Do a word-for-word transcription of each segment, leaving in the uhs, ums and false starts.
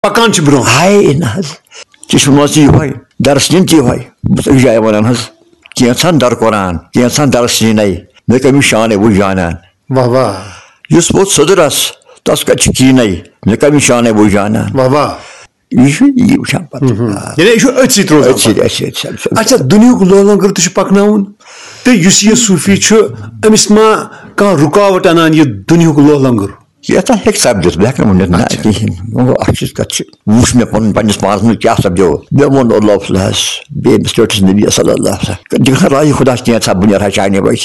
پکان چھِ برونٛہہ۔ ہاے نہ حظ، چشمہٕ منٛز تہِ یِہوے، درس نِن تہِ یِہوے۔ بہٕ چھُس أکِس جایہِ ونان حظ، کینٛژھن در قرآن، کینٛژھن درس نِنے، مےٚ کٔمِس شانَے بہٕ جانان۔ واہ واہ۔ یُس ووت سوٚدرس، تس کتہِ چھِ کیٖنے، مےٚ کٔمِس شانَے بہٕ جانان۔ واہ واہ۔ یہِ چھُ یی وٕچھان پتہٕ۔ آ۔ یعنی یہِ چھُ أتھۍ سۭتۍ روزان أتھۍ سۭتۍ، پتہٕ۔ أتھۍ سۭتۍ، أتھۍ سۭتۍ۔ اچھا، دُنیہُک لوہ لنگر تہِ چھُ پکناوُن، تہٕ یُس یہِ صوٗفی چھُ، أمِس ما کانٛہہ رُکاوٹ انان یہِ دُنیہُک لوہ لنگر؟ یتھ ہیٚکہِ سپدِتھ، بہٕ ہٮ۪کہٕ نہٕ ؤنِتھ نہ اچھا۔ کِہیٖنۍ۔ وۄنۍ گوٚو اکھ چیٖز کتھ چھِ، وٕچھ مےٚ پنُن پننِس پانس منٛز کیٛاہ سپدیو۔ مےٚ ووٚن اللہ صلی اللہ علیہ وسلم، بیٚیہِ أمِس ٹٲٹھِس نبی صلی اللہ علیہ وسلم، دِکھ سا راہی خۄدا کینٛژھا بہٕ نیرٕ ہا چانہِ وَتہِ۔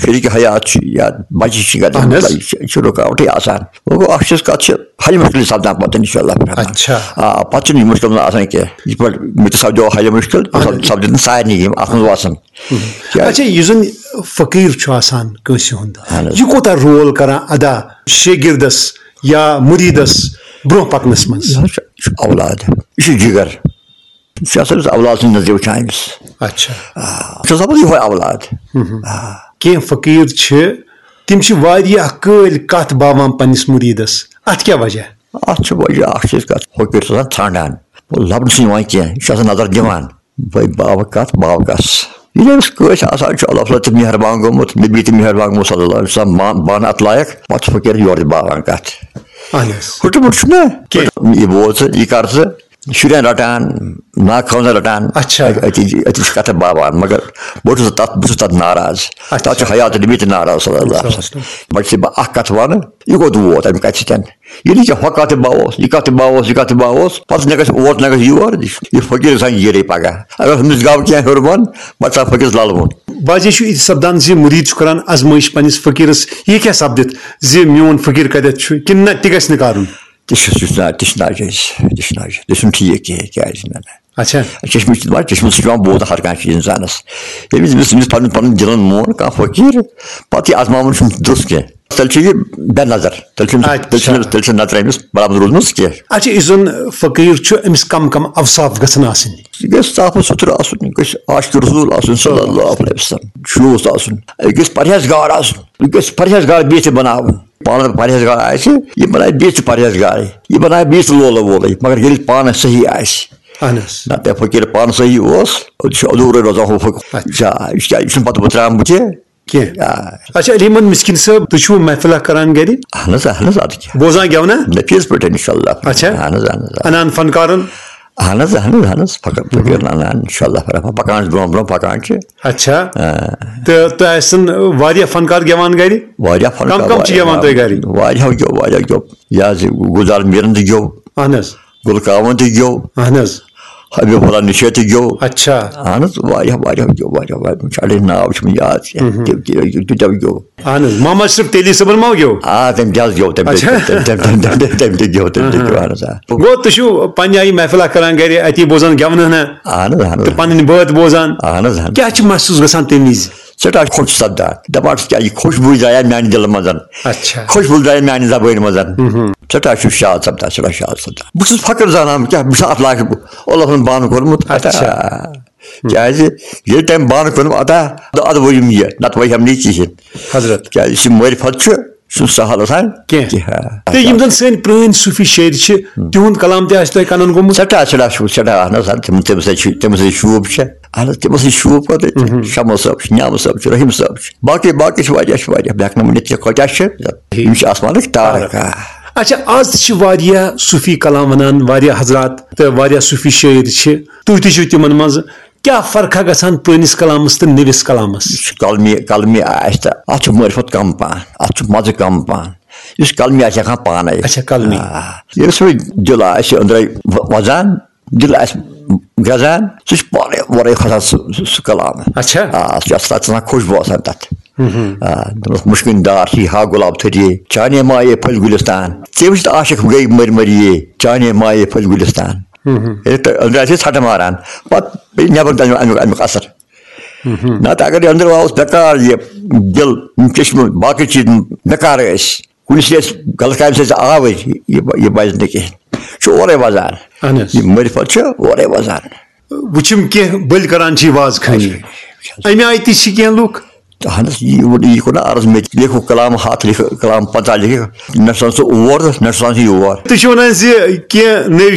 شریٖک حیات چھُ یا بچہِ چھِ گژھان، اہن حظ۔ یہِ چھُ، یہِ چھُ رُکاوٹٕے آسان۔ وۄنۍ گوٚو اکھ چیٖز کتھ چھِ، حل مُشکل سپدان پتہٕ انشاءاللہ۔ اچھا۔ آ، پتہٕ چھُنہٕ یہِ مُشکل نہٕ آسان کینٛہہ۔ یِتھ پٲٹھۍ مےٚ تہِ سپدیو حل مُشکل، تہِ اہن حظ۔ سپدِ نہٕ سارنٕے یِم اتھ منٛز وسان۔ کیٛازِ؟ اچھا، یُس زن فقیٖر چھُ آسان کٲنٛسہِ ہُنٛد، اہن حظ۔ یہِ کوٗتاہ رول کران ادا شٲگِردس یا مُریٖدس برونٛہہ پکنس منٛز؟ یہِ حظ چھُ، یہِ چھُ اولاد، یہِ چھُ جگر۔ یہِ چھُ آسان أمِس اولاد سٕنٛدِ نظرِ وٕچھان أمِس۔ اچھا۔ آ، یہِ چھُ آسان پتہٕ یِہوے اولاد۔ آ۔ کینٛہہ فقیٖر چھِ، تِم چھِ واریاہ کٲلۍ کتھ باوان پننِس مُریٖدس، اتھ کیٛاہ وجہ؟ اتھ چھُ وجہ اکھ چیٖز کتھ، فقیٖر چھُ آسان ژھانٛڈان، لبنہٕ چھُنہٕ یِوان کینٛہہ، یہِ چھُ آسان نظر دِوان۔ بھائی، باوٕ کتھ، باوٕ کس؟ ییٚلہِ أمِس کٲنٛسہِ آسان چھُ اللہ تعالیٰ تہِ مہربان گوٚمُت، نبی تہِ مہربان گوٚمُت صلی اللہ علیہ وسلم، ما-، بانہٕ اتھ لایق، پتہٕ چھُ فقیٖر یورٕ تہِ باوان کتھ۔ اہن حظ۔ ہُٹہٕ مُٹہٕ چھُنہ؟ کینٛہہ۔ یہِ بوز ژٕ، یہِ کر ژٕ، شُرٮ۪ن رٹان، ناخوانن رٹان، اچھا۔ أتی، أتی چھِ کتھٕ باوان، مگر بہٕ چھُس تتھ، بہٕ چھُس تتھ ناراض۔ اچھا۔ تتھ چھُ حیات نبی تہِ ناراض صلی اللہ علیہ وسلم۔ وۄنۍ چھُس بہٕ اکھ کتھ ونہٕ، یہِ کوٚت ووت امہِ کتھِ سۭتۍ؟ ییٚلہِ ژےٚ ہۄ کتھ تہِ باوس، یہِ کتھ تہِ باوس، یہِ کتھ تہِ باوس، پتہٕ نہ گژھِ اور نہ گژھِ یور، یہِ فقیٖر گژھان ییٖرٕے پگاہ۔ اگر ہُمِس گاو کینٛہہ ہیوٚر بۄن، پتہٕ ژاو فقیٖرس للہٕ بۄن۔ بعضے چھُ یہِ تہِ سپدان زِ مُریٖد چھُ کران ازمٲیش پننِس فقیٖرس، یہِ کیٛاہ سپدِتھ زِ میون فقیٖر کتٮ۪تھ چھُ کِنہٕ نہ، تہِ گژھِ نہٕ کرُن؟ تہِ چھُ، تہِ چھُ نا-، تہِ چھُ ناجٲیز، تہِ چھُ ناجٲیز، تہِ چھُنہٕ ٹھیٖک کینٛہہ، کیٛازِ نہ، نہ۔ اچھا۔ چشمہٕ چھُ دپان، چشمہٕ سۭتۍ چھُ پٮ۪وان بوزُن ہر کانٛہہ چیٖز انسانس۔ ییٚمِس، ییٚمِس، ییٚمِس پنُن، پنُن دِلن مون کانٛہہ فقیٖر، پتہٕ یہِ ازماوُن چھُنہٕ درست کینٛہہ۔ تیٚلہِ چھُ یہِ بے نظر، تیٚلہِ چھُنہٕ، اچھا۔ تیٚلہِ چھُنہٕ، تیٚلہِ چھُنہٕ نظرِ أمِس برابر روٗزمٕژ کینٛہہ۔ اچھا، یُس زن فقیٖر چھُ، أمِس کم کم اوصاف گژھن آسٕنۍ؟ یہِ گژھِ صاف و سُتھرٕ آسُن، یہِ گژھِ عاشق رسول آسُن صلی اللہ علیہ وسلم، شوٗژ آسُن، یہِ گژھِ پرہیزگار آسُن، یہِ گژھِ پرہیزگار بیٚیہِ تہِ بناوُن۔ پانہٕ پرہیزگار آسہِ، یہِ بنایہِ بیٚیہِ تہِ پرہیزگارٕے، یہِ بنایہِ بیٚیہِ تہِ لولہٕ وولٕے، مگر ییٚلہِ پانہٕ صحیح آسہِ۔ اہن حظ۔ نہ تہٕ فقیٖر پانہٕ صحیح اوس، یہِ چھُ ادوٗرٕے روزان ہُہ فقیٖر۔ اچھا۔ یہِ چھُ، یہِ چھُنہٕ پتہٕ بہٕ ترٛامہٕ بُتھِ۔ کینٛہہ۔ آ۔ اچھا، علی محمد مسکین صٲب، تُہۍ چھِو محفلہ کران گرِ؟ اہن حظ، اہن حظ، اَدٕ کیٛاہ۔ بوزان گٮ۪ونہ؟ نفیٖذ پٲٹھۍ، انشاءاللہ۔ اچھا۔ اہن حظ، اہن حظ، اہن حظ۔ انان فنکارن؟ اہن حظ، اہن حظ، اہن حظ، فقط فقیٖر انان، انشاءاللہ، برابر پکان چھِ برونٛہہ، برونٛہہ پکان چھِ۔ اچھا۔ آ۔ تہٕ تۄہہِ آسن واریاہ فنکار گٮ۪وان گرِ؟ واریاہ فنکار، کم کم چھِ گٮ۪وان تۄہہِ گرِ؟ واریاہ گٮ۪و، واریاہ گٮ۪و۔ یہِ حظ یہِ گُلزار میٖرن تہِ گٮ۪و۔ اہن حظ۔ گُل کاوَن تہِ گیوٚو۔ اہن حظ۔ حبیب اللہ نِشٲطۍ تہِ گیوٚو۔ اچھا۔ اہن حظ، واریاہ، واریاہ گیوٚو، واریاہ، واریاہ۔ مےٚ چھُ اَڑے ناو چھُم یاد کینٛہہ۔ مہم۔ تِم تہِ، تِم تہِ گیوٚو۔ اہن حظ، محمد شریف تیلی صٲبن ما گیوٚو؟ آ، تٔمۍ تہِ حظ گیوٚو، تٔمۍ تہِ، اچھا۔ تٔمۍ، تٔمۍ، تٔمۍ، تٔمۍ، تٔمۍ، تٔمۍ تہِ گیوٚو، تٔمۍ تہِ گیوٚو، اہن حظ، آ۔ گوٚو، تُہۍ چھِو پننہِ آیہِ محفلہ کران گرِ، اتی بوزان گٮ۪ونہٕ ہنا اہن حظ، اہن حظ۔ تہٕ پنٕنۍ بٲتھ بوزان۔ اہن حظ، اہن حظ۔ کیٛاہ چھُ محسوٗس گژھان تَمہِ وِزِ؟ سٮ۪ٹھاہ خۄش سپدان۔ دَپان چھُس، کیٛاہ یہِ خوشبوٗ درٛایہِ میٛانہِ دِلہٕ منٛز۔ اچھا۔ خوشبوٗ درٛایہِ میٛانہِ زبٲنۍ منٛز۔ مہم۔ سٮ۪ٹھاہ چھُس شاد سپدان، سٮ۪ٹھاہ شاد سپدان۔ بہٕ چھُس فخر زانان، بہٕ کیٛاہ، بہٕ چھُس اَتھ لایق، بہٕ، اللہ تعالیٰ ہن بانہٕ کوٚرمُت۔ اچھا۔ کیٛازِ ییٚلہِ تٔمۍ بانہٕ کوٚرمُت عطا، تہٕ اَدٕ ؤیِم یہِ، نَتہٕ وَیہِ ہم نہٕ یہِ کِہیٖنۍ۔ حضرت۔ کیٛازِ یہِ چھِ معرفت چھُ، یہِ چھُنہٕ سہل آسان کینٛہہ۔ کینٛہہ۔ تہٕ یِم زَن سٲنۍ پرٛٲنۍ صوٗفی شٲعر چھِ، تِہُنٛد کلام تہِ آسہِ تۄہہِ کَنَن گوٚمُت؟ سٮ۪ٹھاہ، سٮ۪ٹھاہ شوٗب، سٮ۪ٹھاہ، اَہَن حظ، اَہَن، تِم، تٔمِس سۭتۍ چھُ، تٔمِس سۭتۍ شوٗب چھےٚ۔ اَہَن حظ، تِمو سۭتۍ شوٗب پَتہٕ۔ مہم۔ شمس صٲب چھُ، نیاز صٲب چھُ، رحیٖم صٲب چھُ، باقٕے، باقٕے چھِ واریاہ، چھِ واریاہ، بہٕ ہٮ۪کہٕ نہٕ ؤنِتھ کہِ کۭتیٛاہ چھِ، یِم چھِ آسمانٕکۍ تارک۔ اچھا، آز تہِ چھِ واریاہ صوٗفی کلام وَنان، واریاہ حضرات تہٕ واریاہ صوٗفی شٲعر چھِ، تُہۍ تہِ چھِو تِمن منٛز۔ کیٛاہ فرقہ گژھان پرٛٲنِس کلامس تہٕ نٔوِس کلامس؟ یُس کلمی، کلمی آسہِ تہٕ اَتھ چھُ معرفت کم پہن، اَتھ چھُ مزٕ کم پہن۔ یُس کلمی آسہِ ہٮ۪کان پانے۔ اچھا، کلمی۔ آ، ییٚلہِ سُہ دِل آسہِ أنٛدرَے و-، وَزان، دِل آسہِ گرٛزان، سُہ چھُ پانے اورَے کھسان سُہ، سُہ، سُہ کلام۔ اچھا۔ آ، سُہ چھُ آسان، تَتھ چھُ آسان خوشبوٗ آسان تَتھ۔ مہم۔ آ، دوٚپمَس، مُشکِن دار چھِ یہِ ہا گۄلاب تھٔدیے، چانے مایے پھٔلۍ گُلِستان۔ ژےٚ وٕچھِتھ عاشق گٔے مٔرۍ مٔرۍ یے، چانے مایے پھٔلۍ گُلِستان۔ مہم۔ ییٚلہِ تۄہہِ أنٛدرٕ آسہِ ژھٹہٕ ماران، پتہٕ پیٚیہِ نٮ۪بر تہِ اَمیُک، اَمیُک، اَمیُک اثر۔ مہم۔ نتہٕ اگر یہِ أنٛدرٕ آوُس بیکار، یہِ دِل، یِم چشمہٕ، باقٕے چیٖز بیکار ٲسۍ، کُنہِ سۭتۍ ٲسۍ غلط کامہِ سۭتۍ آوٕرۍ، یہِ، یہِ بَچہِ نہٕ کِہیٖنۍ۔ چھُ اورَے وَزان۔ اہن حظ۔ یہِ معرفت چھُ اورَے وَزان۔ وٕچھِم کینٛہہ بٔلۍ کران چھِ یہِ واز خٲنی۔ اچھا۔ اَمہِ آیہِ تہِ چھِ کینٛہہ لُکھ۔ اہن حظ، یہِ یہِ کوٚر نہ عرض، مےٚ تہِ لیکھو کلام ہتھ، لیکھو کلام پنٛژاہ، لیکھو، نہ چھُ آسان سُہ اور تہٕ نہ چھُ آسان سُہ یور۔ تُہۍ چھِو وَنان زِ کینٛہہ نٔوۍ